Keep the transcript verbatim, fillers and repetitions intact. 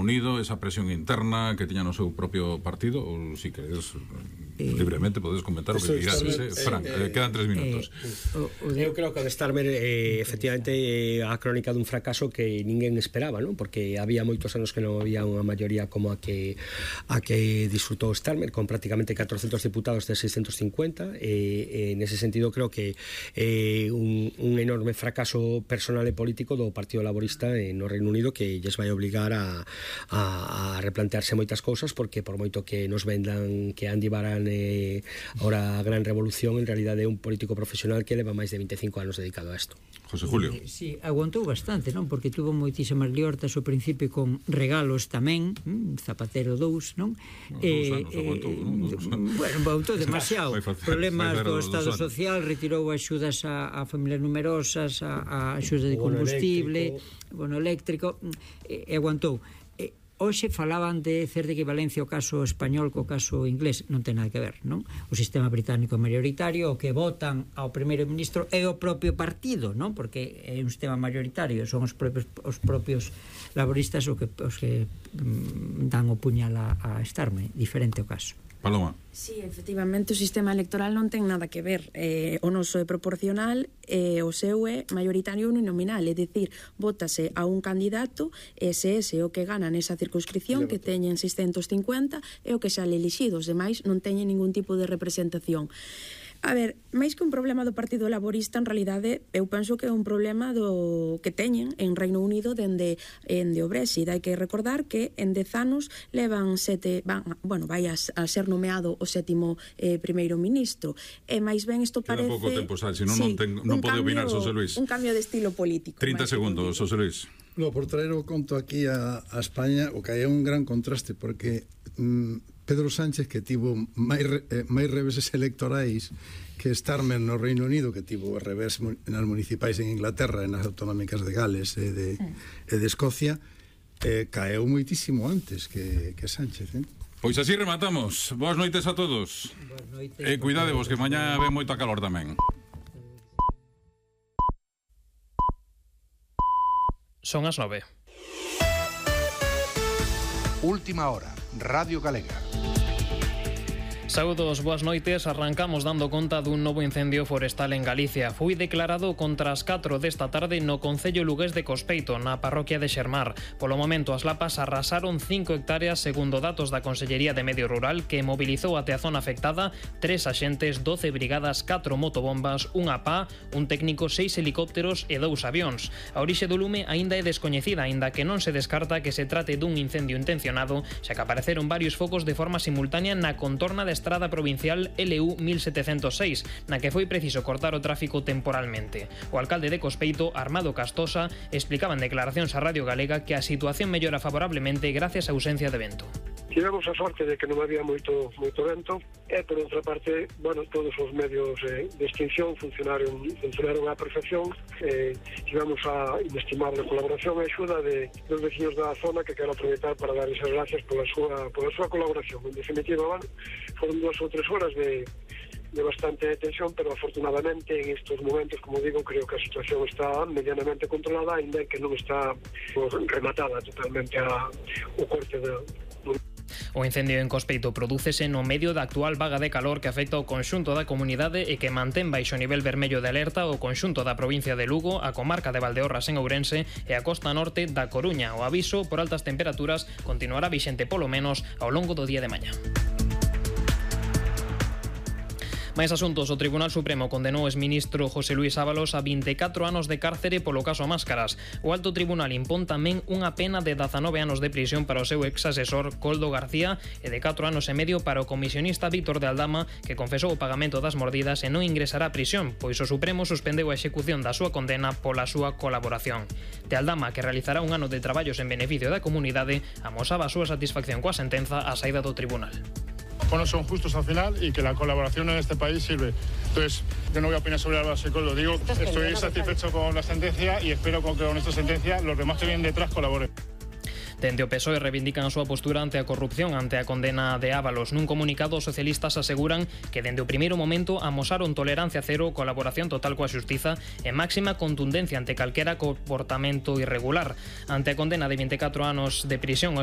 Unido, esa presión interna que tiña no seu propio partido, ou si queredes eh, libremente podes comentar o que digades, eh, Fran, eh, eh, quedan tres minutos. Eh, eu creo que o de Starmer eh, efectivamente é a crónica dun fracaso que ninguén esperaba, non? Porque había moitos anos que non había unha maioría como a que a que disfrutou Starmer, con prácticamente catrocentos diputados de seiscentos cincuenta, e eh, nese sentido creo que é eh, un, un enorme fracaso personal e político do Partido Laborista eh, no Reino Unido, que lles vai obligar a, a, a replantearse moitas cousas, porque por moito que nos vendan que Andy Baran é ahora a gran revolución, en realidade é un político profesional que leva máis de veinticinco anos dedicado a isto. José Julio. Eh, sí, aguantou bastante, non? Porque tuvo moitísimas liortas ao principio con regalos tamén, hm? Zapatero dous, non? No, eh, anos, aguantou, eh, non? Bueno, aguantou demasiado. Problemas do Estado Social, retirou axudas a, a familias numerosas, a, a axuda de combustible, bono eléctrico, e, e aguantou. Hoxe falaban de certa equivalencia o caso español co caso inglés, non ten nada que ver, non? O sistema británico mayoritario, o que votan ao primeiro ministro é o propio partido, non? Porque é un sistema mayoritario, son os propios os propios laboristas os que, os que mm, dan o puñal a, a Starmer, diferente o caso. Paloma. Sí, efectivamente o sistema electoral non ten nada que ver. Eh, o noso é proporcional e o seu é maioritario uninominal, é dicir, vótase a un candidato e se ese o que gana nesa circunscripción, que teñen seiscentos cincuenta, é o que xa le elixido, os demais non teñen ningún tipo de representación. A ver, máis que un problema do Partido Laborista, en realidade, eu penso que é un problema do que teñen en Reino Unido dende, dende o Brexit. Hai que recordar que en dez anos levan sete, van, bueno, vai a, a ser nomeado o sétimo eh, primeiro ministro. E máis ben isto parece... Queda pouco tempo, Sáenz, senón non, sí, ten, non pode opinar José Luis. Un cambio de estilo político. trinta segundos, José Luis. No, por traer o conto aquí a, a España, o que hai é un gran contraste, porque mm, Pedro Sánchez, que tivo máis, eh, máis reveses electorais que Starmer no Reino Unido, que tivo revés nas municipais en Inglaterra e nas autonómicas de Gales e de, mm. e de Escocia, eh, caeu moitísimo antes que, que Sánchez, eh? Pois así rematamos. Boas noites a todos. Boas noites. E eh, cuidadevos, que mañá ve moita calor tamén. Son as nove. Última hora, Radio Galega. Saúdos, boas noites. Arrancamos dando conta dun novo incendio forestal en Galicia. Foi declarado contra as catro desta tarde no concello lugués de Cospeito, na parroquia de Xermar. Polo momento, as lapas arrasaron cinco hectáreas segundo datos da Consellería de Medio Rural, que mobilizou até a zona afectada tres axentes, doce brigadas, catro motobombas, unha pá, un técnico, seis helicópteros e dous avións. A orixe do lume aínda é descoñecida, aínda que non se descarta que se trate dun incendio intencionado, xa que apareceron varios focos de forma simultánea na contorna da estrada provincial L U mil setecentos seis, na que foi preciso cortar o tráfico temporalmente. O alcalde de Cospeito, Armando Castosa, explicaba en declaracións a Radio Galega que a situación mellora favorablemente gracias á ausencia de vento. Tivemos a sorte de que non había moito moito vento e, por outra parte, bueno, todos os medios eh, de extinción funcionaron funcionaron á perfección. Eh, tivemos a inestimable colaboración e axuda de, dos veciños da zona, que quero aproveitar para dar esas gracias pola súa, pola súa colaboración. En definitiva, bueno, foron dúas ou tres horas de de bastante tensión, pero afortunadamente en estos momentos, como digo, creo que a situación está medianamente controlada, ainda que non está pues, rematada totalmente a, o corte de... O incendio en Cospeito prodúcese no medio da actual vaga de calor que afecta o conxunto da comunidade e que mantén baixo nivel vermello de alerta o conxunto da provincia de Lugo, a comarca de Valdeorras en Ourense e a costa norte da Coruña. O aviso por altas temperaturas continuará vixente polo menos ao longo do día de mañá. Máis asuntos, o Tribunal Supremo condenou o exministro José Luis Ábalos a vinte e catro anos de cárcere polo caso Máscaras. O Alto Tribunal impón tamén unha pena de dezanove anos de prisión para o seu ex-asesor Coldo García e de catro anos e medio para o comisionista Víctor de Aldama, que confesou o pagamento das mordidas e non ingresará a prisión, pois o Supremo suspendeu a execución da súa condena pola súa colaboración. De Aldama, que realizará un ano de traballos en beneficio da comunidade, amosaba a súa satisfacción coa sentenza á saída do tribunal. Bueno, son justos al final y que la colaboración en este país sirve. Entonces, yo no voy a opinar sobre Álvaro Coldo. Digo, estoy satisfecho con la sentencia y espero que con esta sentencia los demás que vienen detrás colaboren. Dende o P S O E reivindican a súa postura ante a corrupción, ante a condena de Ábalos. Nun comunicado, os socialistas aseguran que dende o primeiro momento amosaron tolerancia cero, colaboración total coa xustiza e máxima contundencia ante calquera comportamento irregular. Ante a condena de vinte e catro anos de prisión